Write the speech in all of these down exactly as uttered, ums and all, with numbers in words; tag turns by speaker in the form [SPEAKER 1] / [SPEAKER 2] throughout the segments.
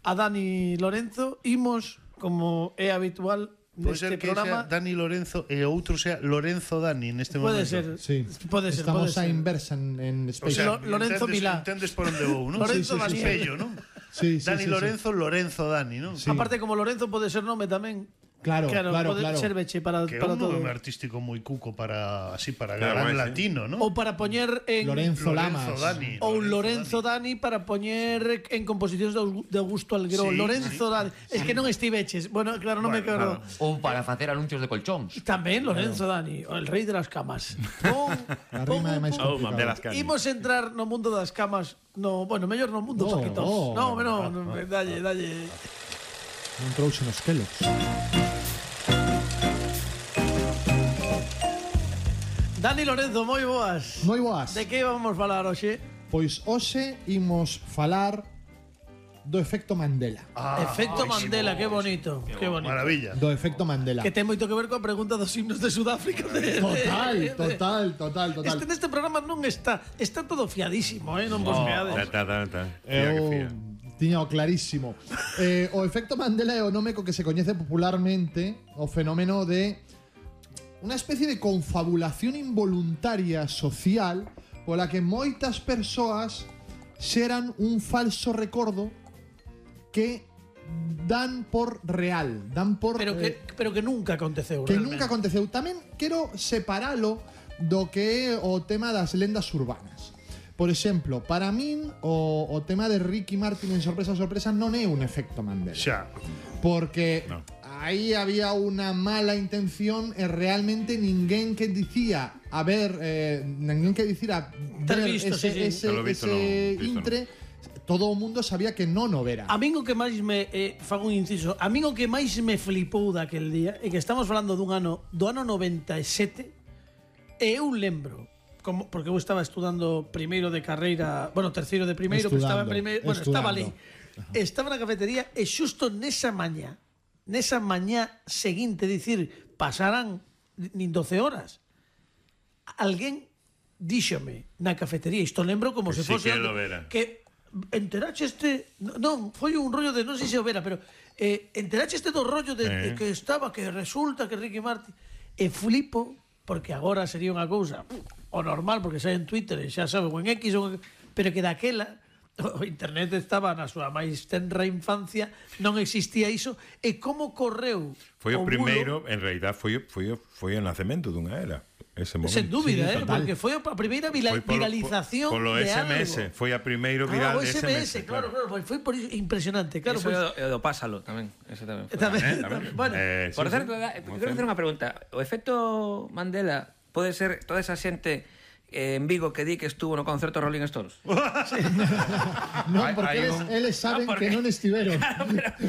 [SPEAKER 1] a Dani Lorenzo, imos, como é habitual neste programa...
[SPEAKER 2] Pode ser que sea Dani Lorenzo e o outro sea Lorenzo Dani neste
[SPEAKER 1] momento.
[SPEAKER 2] Pode
[SPEAKER 1] ser,
[SPEAKER 3] sí.
[SPEAKER 1] pode ser.
[SPEAKER 3] Estamos
[SPEAKER 1] pode
[SPEAKER 3] a
[SPEAKER 1] ser.
[SPEAKER 3] inversa en, en
[SPEAKER 2] O
[SPEAKER 3] Space.
[SPEAKER 2] sea,
[SPEAKER 1] Lo, Lorenzo
[SPEAKER 2] entendes,
[SPEAKER 1] Milá.
[SPEAKER 2] entendes por onde vou, non?
[SPEAKER 1] Lorenzo
[SPEAKER 2] sí, sí,
[SPEAKER 1] Daniel.
[SPEAKER 2] Pello, non?
[SPEAKER 3] Sí, sí,
[SPEAKER 2] Dani
[SPEAKER 3] sí,
[SPEAKER 2] Lorenzo, sí. Lorenzo Dani, non?
[SPEAKER 3] Sí.
[SPEAKER 1] Aparte, como Lorenzo pode ser nome tamén.
[SPEAKER 3] Claro, claro, claro.
[SPEAKER 1] Pode
[SPEAKER 3] claro.
[SPEAKER 1] serveche para,
[SPEAKER 2] que
[SPEAKER 1] para
[SPEAKER 2] é un
[SPEAKER 1] todo.
[SPEAKER 2] nome artístico moi cuco para así para
[SPEAKER 4] Claro,
[SPEAKER 2] galán
[SPEAKER 4] sí.
[SPEAKER 2] latino, non?
[SPEAKER 1] Ou para poñer en...
[SPEAKER 3] Lorenzo,
[SPEAKER 2] Lorenzo
[SPEAKER 3] Lamas.
[SPEAKER 2] Dani.
[SPEAKER 1] Ou Lorenzo Dani para poñer en composicións de Augusto Algueró.
[SPEAKER 2] Sí,
[SPEAKER 1] Lorenzo
[SPEAKER 2] sí.
[SPEAKER 1] Dani. Es que non estiveches. Bueno, claro, non me
[SPEAKER 2] Bueno,
[SPEAKER 1] acordo.
[SPEAKER 2] claro.
[SPEAKER 5] Ou para facer anuncios de colchóns.
[SPEAKER 1] Tamén Lorenzo Dani, el rei de las camas. Pon,
[SPEAKER 3] A rima é máis
[SPEAKER 4] Oh,
[SPEAKER 3] complicada.
[SPEAKER 4] de las cañas.
[SPEAKER 1] Imos entrar no mundo das camas. No, bueno, mellor no mundo
[SPEAKER 3] No,
[SPEAKER 1] paquetos.
[SPEAKER 3] no.
[SPEAKER 1] No, no, no, dalle, dalle.
[SPEAKER 3] Non trouxe nos Kellogg's.
[SPEAKER 1] Dani Lorenzo, moi boas.
[SPEAKER 3] Moi boas.
[SPEAKER 1] De que vamos falar hoxe?
[SPEAKER 3] Pois hoxe imos falar do efecto Mandela.
[SPEAKER 2] Ah,
[SPEAKER 1] Efecto
[SPEAKER 2] buenísimo.
[SPEAKER 1] Mandela, que bonito, que bonito.
[SPEAKER 2] Maravilla.
[SPEAKER 3] Do efecto Mandela.
[SPEAKER 1] Que ten moito que ver coa pregunta dos himnos de Sudáfrica. De,
[SPEAKER 3] Total,
[SPEAKER 1] de- de-
[SPEAKER 3] total, total, total.
[SPEAKER 1] Este neste programa non está, está todo fiadísimo, eh, non vos meades.
[SPEAKER 4] Ta, ta, ta, ta. Fía que
[SPEAKER 3] Eu
[SPEAKER 4] fía.
[SPEAKER 3] tiña o clarísimo. Eh, o efecto Mandela é o nome co que se coñece popularmente o fenómeno de unha especie de confabulación involuntaria social pola que moitas persoas xeran un falso recordo que dan por real, dan por
[SPEAKER 1] Pero que,
[SPEAKER 3] eh,
[SPEAKER 1] pero que nunca aconteceu.
[SPEAKER 3] que
[SPEAKER 1] realmente.
[SPEAKER 3] nunca aconteceu. Tamén quero separalo do que é o tema das lendas urbanas. Por exemplo, para min o, o tema de Ricky Martin en Sorpresa Sorpresa non é un efecto Mandela.
[SPEAKER 2] Xa.
[SPEAKER 3] Porque
[SPEAKER 4] No.
[SPEAKER 3] aí había unha mala intención e realmente ninguén que dicía a ver, eh, ninguén que dicira
[SPEAKER 1] Ter
[SPEAKER 3] ver
[SPEAKER 1] visto,
[SPEAKER 3] ese,
[SPEAKER 1] sí, sí.
[SPEAKER 3] ese,
[SPEAKER 4] Polo visto
[SPEAKER 3] ese
[SPEAKER 4] non, visto
[SPEAKER 3] intre, todo o mundo sabía que non o vera.
[SPEAKER 1] A min o que máis me eh, fago un inciso, a min o que máis me flipou daquel día é que estamos falando dun ano, do ano noventa e sete, e eu lembro como, porque eu estaba estudando primeiro de carreira, bueno, terceiro de primeiro, que estaba en
[SPEAKER 3] Estudando,
[SPEAKER 1] primeiro, bueno, estaba ali.
[SPEAKER 3] estudando.
[SPEAKER 1] Estaba na cafetería e xusto nesa mañá, nesa mañá seguinte, dicir, pasarán nin doce horas. Alguén díxome na cafetería, isto lembro como
[SPEAKER 4] Que
[SPEAKER 1] se
[SPEAKER 4] sí
[SPEAKER 1] fose
[SPEAKER 4] que
[SPEAKER 1] onde-
[SPEAKER 4] lo vera.
[SPEAKER 1] que enterache este, non, foi un rollo de non sei se o vera, pero eh, enterache este do rollo de,
[SPEAKER 4] Eh.
[SPEAKER 1] de que estaba, que resulta que Ricky Martin, e flipo porque agora sería unha cousa o normal, porque sai en Twitter e xa sabe, ou en X, ou en... pero que daquela o internet estaba na súa máis tenra infancia, non existía iso, e como correu
[SPEAKER 4] Foi o
[SPEAKER 1] bulo,
[SPEAKER 4] primeiro, en realidad foi o- foi o foi o nacemento dunha era, ese momento.
[SPEAKER 1] sen dúbida,
[SPEAKER 3] Sí,
[SPEAKER 1] eh,
[SPEAKER 3] total.
[SPEAKER 1] porque foi a primeira vira,
[SPEAKER 4] Foi polo-
[SPEAKER 1] viralización
[SPEAKER 4] polo
[SPEAKER 1] de
[SPEAKER 4] S M S,
[SPEAKER 1] algo.
[SPEAKER 4] foi a primeiro
[SPEAKER 1] Ah,
[SPEAKER 4] viral
[SPEAKER 1] o
[SPEAKER 4] de
[SPEAKER 1] S M S, claro, claro, foi, foi por iso impresionante, claro,
[SPEAKER 6] Eso
[SPEAKER 1] pois,
[SPEAKER 6] é o, é o pásalo tamén. Ese tamén foi.
[SPEAKER 1] tamén,
[SPEAKER 4] Eh, tamén.
[SPEAKER 1] bueno,
[SPEAKER 4] Eh,
[SPEAKER 6] Por
[SPEAKER 4] sí,
[SPEAKER 6] certo,
[SPEAKER 4] sí.
[SPEAKER 6] da- quero facer unha pregunta. O efecto Mandela pode ser toda esa xente eh, en Vigo que di que estuvo no concerto Rolling Stones?
[SPEAKER 3] Non,
[SPEAKER 4] Hai-
[SPEAKER 3] porque
[SPEAKER 4] hai
[SPEAKER 3] eles,
[SPEAKER 4] un-
[SPEAKER 3] eles saben
[SPEAKER 6] Ah, porque-
[SPEAKER 3] que non estiveron.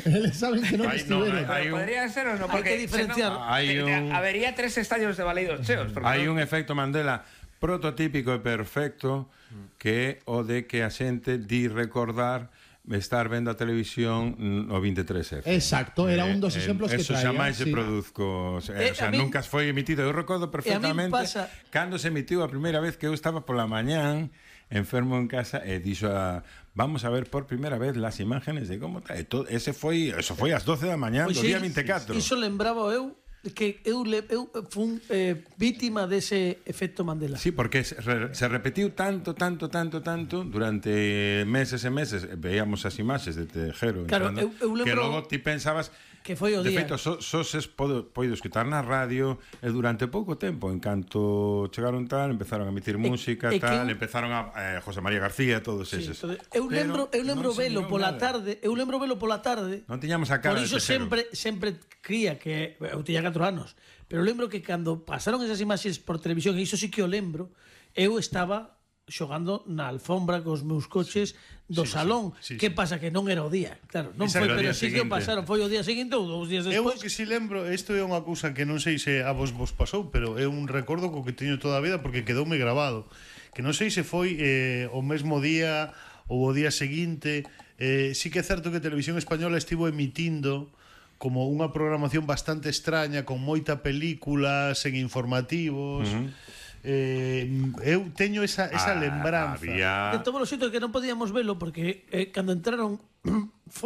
[SPEAKER 3] Eles saben que non
[SPEAKER 4] Hai- no,
[SPEAKER 3] estiveron.
[SPEAKER 4] hai-
[SPEAKER 6] Pero
[SPEAKER 4] un-
[SPEAKER 6] podría ser ou non?
[SPEAKER 1] Hai
[SPEAKER 6] Porque
[SPEAKER 1] que diferenciar.
[SPEAKER 6] senón,
[SPEAKER 4] Hai
[SPEAKER 6] te- te-
[SPEAKER 4] un-
[SPEAKER 6] habería tres estadios de baleidos cheos. porque
[SPEAKER 4] Hai
[SPEAKER 6] non-
[SPEAKER 4] un efecto Mandela prototípico e perfecto que é o de que a xente di recordar estar vendo a televisión no veintitrés F.
[SPEAKER 3] Exacto, era un dos exemplos que
[SPEAKER 4] Eso
[SPEAKER 3] traía.
[SPEAKER 4] xa máis se
[SPEAKER 3] sí.
[SPEAKER 4] produzco, o sea,
[SPEAKER 1] Eh,
[SPEAKER 4] o sea
[SPEAKER 1] a min-
[SPEAKER 4] nunca foi emitido. Eu recordo perfectamente
[SPEAKER 1] pasa-
[SPEAKER 4] cando se emitiu a primeira vez que eu estaba pola mañán enfermo en casa e dixo a, vamos a ver por primeira vez las imágenes de como está. E todo, ese foi, eso foi ás doce da mañán
[SPEAKER 1] Pois
[SPEAKER 4] do
[SPEAKER 1] sí,
[SPEAKER 4] día veinticuatro.
[SPEAKER 1] Iso lembraba eu que eu, le, eu fun eh, vítima dese efecto Mandela.
[SPEAKER 4] Sí, porque se, re, se repetiu tanto, tanto, tanto, tanto durante meses e meses. Veíamos as imaxes de Tejero
[SPEAKER 1] Claro,
[SPEAKER 4] entrando,
[SPEAKER 1] eu- eu lembro
[SPEAKER 4] que logo ti pensabas
[SPEAKER 1] que foi o
[SPEAKER 4] de
[SPEAKER 1] día.
[SPEAKER 4] feito, so, so ses podo, poido escutar na radio e durante pouco tempo, en canto chegaron tal, empezaron a emitir
[SPEAKER 1] E-
[SPEAKER 4] música
[SPEAKER 1] e
[SPEAKER 4] tal,
[SPEAKER 1] que-
[SPEAKER 4] empezaron a eh, José María García, todos
[SPEAKER 1] Sí,
[SPEAKER 4] eses.
[SPEAKER 1] entonces, eu
[SPEAKER 4] Pero
[SPEAKER 1] lembro, eu lembro
[SPEAKER 4] non se
[SPEAKER 1] velo
[SPEAKER 4] mirou
[SPEAKER 1] pola
[SPEAKER 4] nada.
[SPEAKER 1] tarde, eu lembro velo pola tarde.
[SPEAKER 4] Non tiñamos a cara
[SPEAKER 1] Por
[SPEAKER 4] de
[SPEAKER 1] iso
[SPEAKER 4] Tejero.
[SPEAKER 1] sempre sempre cría que eu tiña catro anos, pero lembro que cando pasaron esas imaxes por televisión, e iso sí que o lembro, eu estaba xogando na alfombra cos meus coches do
[SPEAKER 2] Sí,
[SPEAKER 1] salón.
[SPEAKER 2] sí, sí,
[SPEAKER 1] que
[SPEAKER 2] sí.
[SPEAKER 1] pasa que non era o día, claro, non
[SPEAKER 2] Esa
[SPEAKER 1] foi,
[SPEAKER 2] era o
[SPEAKER 1] pero
[SPEAKER 4] día
[SPEAKER 1] sí que o
[SPEAKER 4] seguinte.
[SPEAKER 1] pasaron, foi o día seguinte ou dous días
[SPEAKER 2] Eu
[SPEAKER 1] despois.
[SPEAKER 2] que si lembro, isto é unha cousa que non sei se a vos vos pasou, pero é un recordo co que teño toda a vida porque quedoume grabado. Que non sei se foi eh, o mesmo día ou o día seguinte. Eh, sí que é certo que Televisión Española estivo emitindo como unha programación bastante extraña, con moita película, sen informativos. Uh -huh. eh, eu teño esa, esa
[SPEAKER 4] Ah,
[SPEAKER 2] lembranza.
[SPEAKER 4] había...
[SPEAKER 1] De todos os xeitos que non podíamos velo porque eh, cando entraron foi